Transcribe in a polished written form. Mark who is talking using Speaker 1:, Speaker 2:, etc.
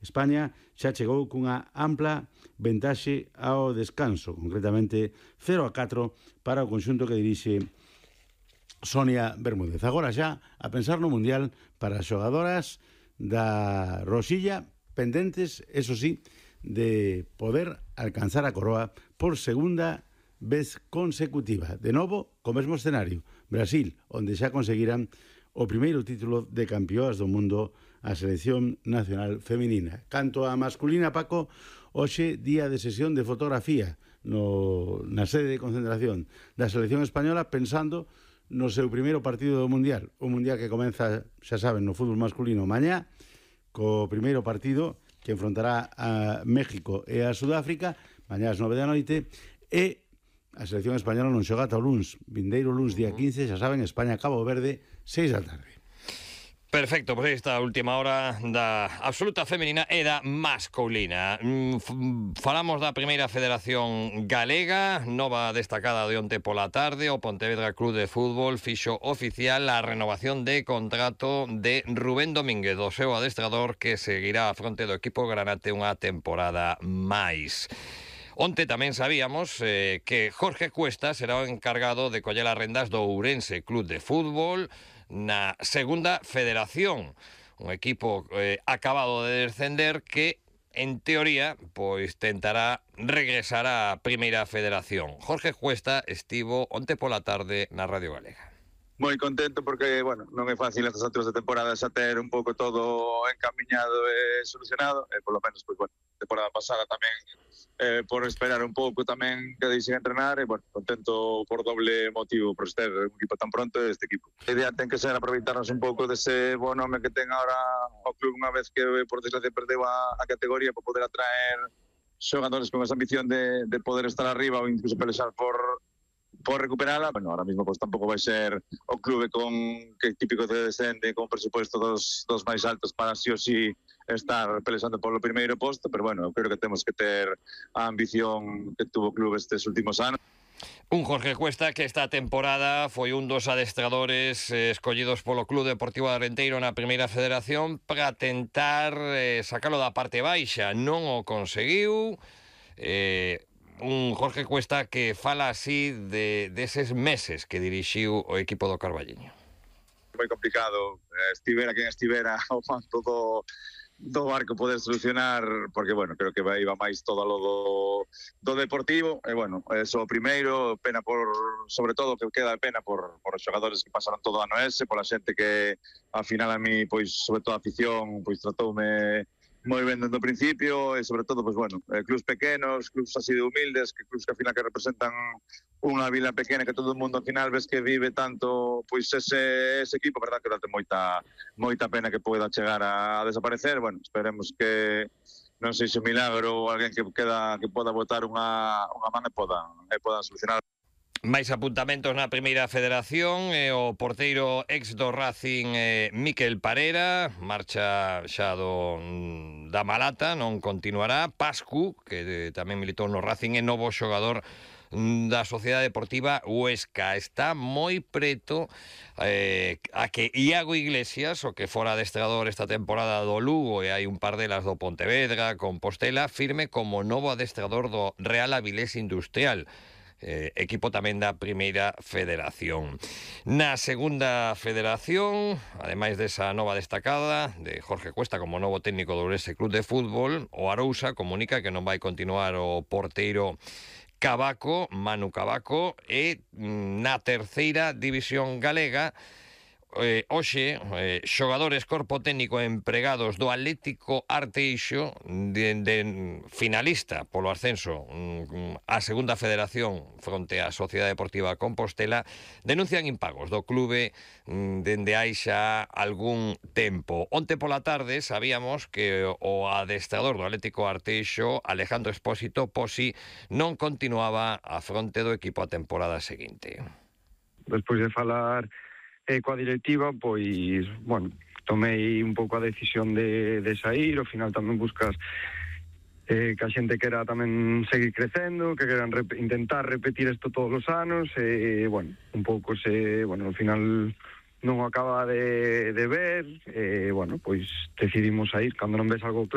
Speaker 1: España xa chegou cunha ampla ventaxe ao descanso, concretamente 0-4 para o conxunto que dirixe Sonia Bermúdez. Agora xa a pensar no Mundial para as xogadoras da Rosilla, pendentes, eso sí, de poder alcanzar a coroa por segunda vez consecutiva. De novo, co mesmo escenario, Brasil, onde xa conseguiran o primeiro título de campeoas do mundo a selección nacional feminina. Canto a masculina, Paco, hoxe día de sesión de fotografía na sede de concentración da selección española, pensando no seu primeiro partido do Mundial. O Mundial que comeza, xa saben, no fútbol masculino mañá, co primeiro partido que enfrontará a México e a Sudáfrica, mañá ás 9 da noite, e a selección española non xoga ata o luns, vindeiro luns día 15, xa saben, España-Cabo Verde, 6 da tarde.
Speaker 2: Perfecto, pois esta última hora da absoluta femenina e da masculina. Falamos da primeira federación galega, nova destacada de onte pola tarde. O Pontevedra Club de Fútbol fixo oficial a renovación de contrato de Rubén Domínguez, do seu adestrador, que seguirá a fronte do equipo granate unha temporada máis. Onte tamén sabíamos que Jorge Cuesta será o encargado de coller as rendas do Ourense Club de Fútbol na segunda federación, un equipo acabado de descender que, en teoría, pois tentará regresar á primeira federación. Jorge Cuesta estivo onte pola tarde na Radio Galega.
Speaker 3: Moi contento porque, bueno, non é fácil estas alturas de temporada xa ter un pouco todo encamiñado e solucionado, e polo menos, pois, bueno, temporada pasada tamén por esperar un pouco tamén que deixen entrenar, e, bueno, contento por doble motivo, por ter un equipo tan pronto este equipo. A idea ten que ser aproveitarnos un pouco dese bo nome que ten agora o club unha vez que, por desgracia, perdeu a categoría, para poder atraer xogadores con esa ambición de poder estar arriba ou incluso pelexar por recuperala. Bueno, ahora mismo pues tampouco vai ser o clube con que típico de descende con presupuesto dos máis altos para sí ou sí estar pelexando polo primeiro posto, pero bueno, creo que temos que ter a ambición que tuvo o clube estes últimos anos.
Speaker 2: Un Jorge Cuesta que esta temporada foi un dos adestradores escollidos polo Club Deportivo de Arenteiro na primeira federación para tentar sacalo da parte baixa. Non o conseguiu. Un Jorge Cuesta que fala así deses meses que dirixiu o equipo do Carballiño.
Speaker 3: Moi complicado, estivera quen estivera ao mando do barco poder solucionar, porque, bueno, creo que iba máis todo lo do deportivo, e, bueno, eso primeiro, pena sobre todo, que queda pena por os xogadores que pasaron todo o ano ese, pola xente que, ao final, a mí, pois, sobre todo a afición, pois, tratoume moi ben dende o principio, e sobre todo, pues, bueno, clubs pequenos, clubs así de humildes, que clubs que ao final que representan unha vila pequena que todo o mundo ao final ves que vive tanto, pois ese equipo, verdad, que date moita pena que poida chegar a desaparecer. Bueno, esperemos que non sei se un milagro ou alguén que poda botar unha man e podan solucionar.
Speaker 2: Máis apuntamentos na primeira federación, o porteiro ex do Racing, Miquel Parera, marcha xa da Malata, non continuará. Pascu, que tamén militou no Racing, é novo xogador da Sociedade Deportiva Huesca. Está moi preto a que Iago Iglesias, o que fora adestrador esta temporada do Lugo, e hai un par delas do Pontevedra, Compostela, firme como novo adestrador do Real Avilés Industrial, equipo tamén da primeira federación. Na segunda federación, ademais desa nova destacada de Jorge Cuesta como novo técnico do Ourense Club de Fútbol, o Arousa comunica que non vai continuar o porteiro Cavaco, Manu Cavaco, e na terceira división galega, hoxe, xogadores, corpo técnico e empregados do Atlético Arteixo, finalista polo ascenso á segunda federación fronte á Sociedade Deportiva Compostela, denuncian impagos do clube dende hai xa algún tempo. Onte pola tarde sabíamos que o adestrador do Atlético Arteixo, Alejandro Espósito Posi, non continuaba á fronte do equipo a temporada seguinte.
Speaker 4: Despois de falar coa directiva, pois, bueno, tomei un pouco a decisión de sair. Ao final tamén buscas que a xente quera tamén seguir crecendo, que queran intentar repetir isto todos os anos, e, bueno, un pouco ao final non o acaba de ver, e, bueno, pois decidimos sair. Cando non ves algo claro